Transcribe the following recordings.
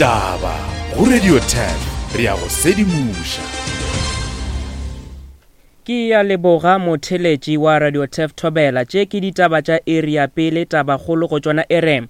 Ditaba go Radio 10 re a go sedimoša. Ke ya leboga motheletši wa Radio Tef Thobela. Tše ke ditaba tša iri ya pele, tabakgolo go tšona e re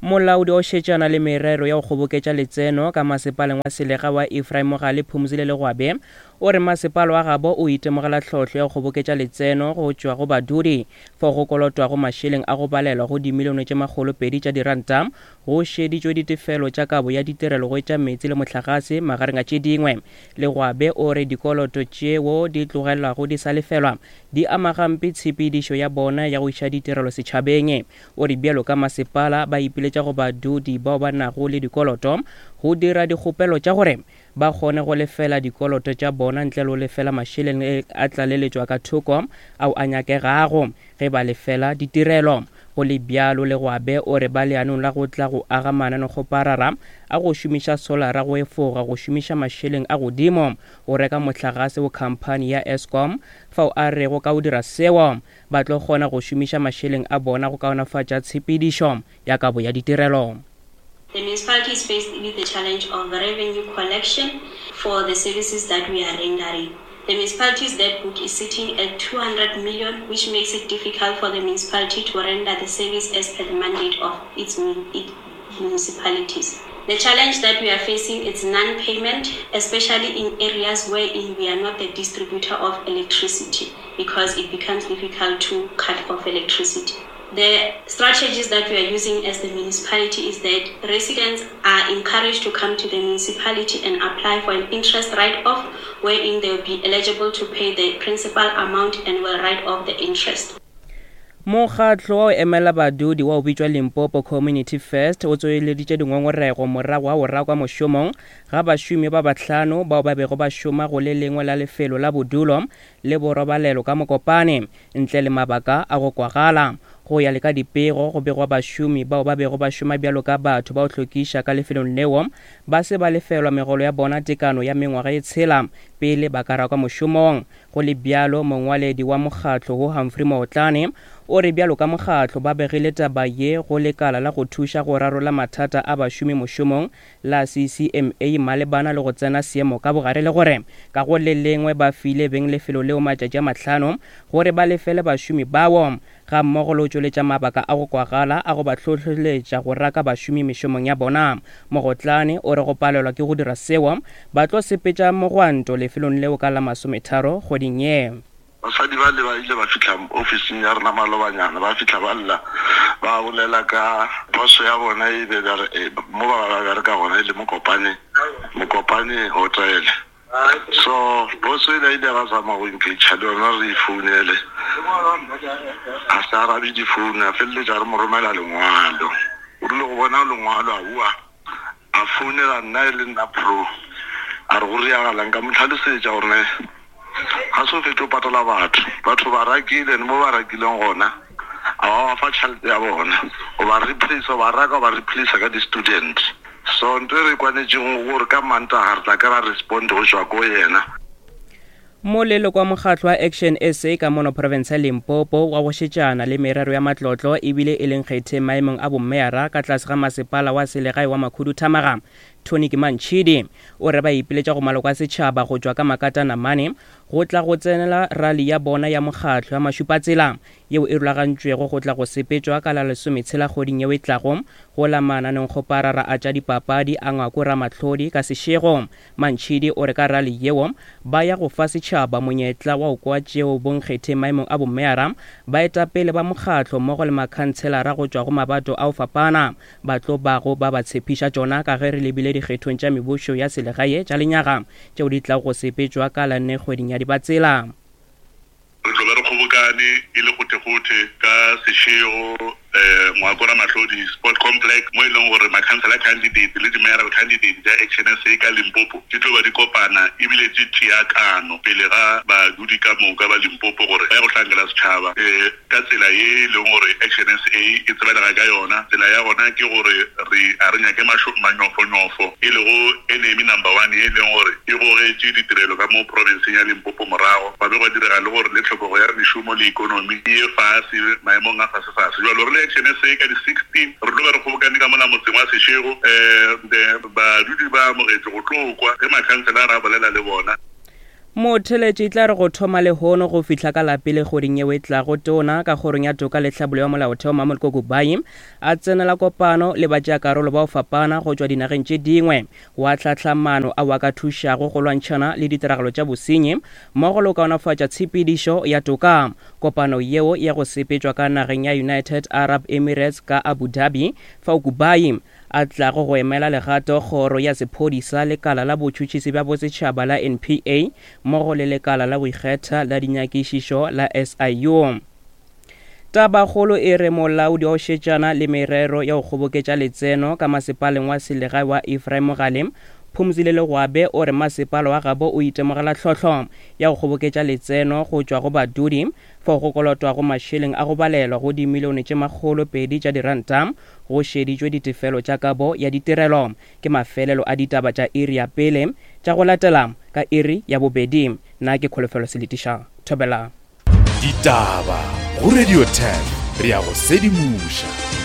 Molaodi o šetšana le merero ya go kgoboketša letseno ka masepaleng wa selega wa Ephraim Mogale Phumzile Legwabe o re masepala wa gabo o itemogela tlhohlo ya go kgoboketša letseno go tšwa go badudi fao go kolotwago mašeleng a go balelwa go dimilione tše makgolopedi tša diranta go šeditšwe ditefelo tša kabo ya ditirelo go etša meetse le mohlagase magareng a tše dingwe. Legwabe o re dikoloto tšeo di tlogelwago di sa lefelwa di ama gampe tshepedišo ya bona ya go iša ditirelo setšhabeng. O re bjalo ka masepala ba ipiletša go badudi bao ba nago le dikoloto go dira dikgopelo tša gore ba kgone go lefela dikoloto tša bona ntle le go lefela mašeleng a tlaleletšwa ka thoko ao a nyakegago ge ba lefela ditirelo. Go le bjalo, Legwabe o re ba leanong la go tla go aga mananekgoparara a go šomiša solara go efoga go šomiša mašeleng a godimo go reka mohlagase go khamphani ya Eskom fao a rego ka go dira seo ba tlo kgona go šomiša mašeleng a bona go kaonafatša tshepedišo ya kabo ya ditirelo. The municipality is faced with the challenge of revenue collection for the services that we are rendering. The municipality's debt book is sitting at 200 million, which makes it difficult for the municipality to render the service as per the mandate of its municipalities. The challenge that we are facing is non-payment, especially in areas wherein we are not the distributor of electricity, because it becomes difficult to cut off electricity. The strategies that we are using as the municipality is that residents are encouraged to come to the municipality and apply for an interest write-off, wherein they will be eligible to pay the principal amount and will write off the interest. Mokgatlo wa go emela badudi wa go bitšwa Limpopo Community First o tsoeleditše dingongorego morago ga go rakwa mošomong ga bašomi ba bahlano bao ba bego ba šoma go le lengwe la lefelo la bodulo le borobalelo ka Mokopane ntle le mabaka a go kwagala. Go ya le ka dipego, go begwa bašomi bao ba bego ba šoma bjalo ka batho ba go hlokiša ka lefelong leo ba se ba lefelwa megolo ya bona tekano ya mengwaga ye tshela pele ba ka rakwa mošomong. Go le bjalo, mongwaledi wa mokgatlo wo Humphrey Maotlane o re bjalo ka mokgatlo ba begile taba ye go lekala la go thuša go rarolla mathata a bašomi mošomong la CCMA malebana le go tsena seemo ka bogare le gore ka go le lengwe ba file beng lefelo leo matšatši a mahlano gore ba lefele bašomi bao gammogo le go tšweletša mabaka a go kwagala a go ba hlohleletša go raka bašomi mešomong ya bona. Mogotlane o re go palelwa ke go dira seo ba tlo sepetša mogwanto lefelong leo ka la masometharo kgweding ye. Basadi bale ba ile ba fihla ofising ya rena malobanyana, ba fihla ba lla, ba bolela ka phoso ya bona e be ba re mo ba ba bereka gona e le Mokopane, Mokopane Hotel. So boss o ile a ile ra zama go engage le yona re e founele, a se arabe difounu, a feleletša re mo romela lengwalo. O rile go bona lengwalo a bua A founela nna e le nna pro, a re go riagalang. Ka mo hlalosetša gore ne ga se o fetše o patala batho, batho ba rakile and mo ba rakileng gona a ba ba fa tšhelete ya bona, o ba replace, o ba raka o ba replace ka di-student. So nto e re kwanetšego gore ka Mantaga re tla kry-a respond go tšwa ko yena. Moleloko wa mokgatlo wa Action SA ka mono profense ya Limpopo wa go šetšana le merero ya matlotlo ebile e le nkgetheng maemong a bommeyara ka tlase ga masepala wa selegae wa Makhuduthamaga, Tony Kimantšhidi, o re ba ipiletša go maloko a setšhaba go tšwa ka makatanamane go tla go tsenela rali ya bona ya mokgatlo ya mašupatsela yeo e rulagantšwego go tla go sepetšwa ka la lesometshela kgweding yeo e tlago go la mananengkgoparara a tša dipapadi a Ngwako Ramahlodi ka Seshego. Mantšhidi o re ka rali yeo ba ya go fa setšhaba monyetla wa go kwa tšeo bonkgetheng maemong a bomeyara, baetapele ba mokgatlo mmogo le makhantshelara go tšwa go mabato a go fapana ba tlo bago ba ba tshepiša tšona ka ge re lebile dikgethong tša mebušo ya selegae tša lenyaga tšeo di tlago go sepetšwa ka la nne kgweding ya Dibatsela. Re tlo be re kgobokane e le gothegothe ka Seshego, Ngwako Ramahlodi Sport Complex mo e leng gore makhansela candidate le di-mayoral candidate tša Action SA ka Limpopo di tlo ba di kopana ebile di tšea kano pele ga badudi ka moka ba Limpopo gore ba ye go hlankela setšhaba ka tsela ye e leng gore Action SA e tsebalega ka yona. Tsela ya gona ke gore re a re nyake manyofonyofo e lego enemy number one ye e leng gore e gogetše ditirelo ka mo profenseng ya Limpopo morago, gwa be gwa direga le gore le tlhokego ya mešomo le ekonomi e ye fase maemong a fasefase. Bjalo re le. Action SA ka di 16 re tlo be re kgobokane ka mola motseng wa Seshego um badudi ba amogetšwe go tlo kwa ge makhanselara a bolela le bona. Motheeletši e tla re go thoma lehono go fihla ka la pele kgweding yeo e tlago, Tona ka Kgorong ya Toka le Tlhabollo ya Molaotheo Mamoloko Kubayi a tsenela kopano le batšeakarolo ba go fapana go tšwa dinageng tše dingwe go ahlahla maano ao a ka thušago go lwantšhana le ditiragalo tša bosenyi mmogo le go kaonafatša tshepedišo ya toka. Kopano yeo ya go sepetšwa ka nageng ya United Arab Emirates ka Abu Dhabi fao Kubayi a tlago go emela legato Kgoro ya Sephodisa, Lekala la Botšhotšhisi bja Bosetšhaba la NPA mmogo le Lekala la go Ikgetha la Dinyakišišo la SIU. Tabakgolo e re molaodi wa go šetšana le merero ya go kgoboketša letseno ka masepaleng wa selegae wa Ephraim Mogale, Phumzile Legwabe o re masepala wa gabo o itemogela tlhohlo ya go kgoboketša letseno go tšwa go badudi fao go kolotwago mašeleng a go balelwa go dimilione tše 200 tša diranta Go šeditšwe ditefelo tša kabo ya ditirelo. Ke mafelelo a ditaba tša iri ya pele tša go latela ka iri ya bobedi. Nna ke Kholofelo Seletiša. Thobela. Ditaba go Radio 10 re a go sedimoša.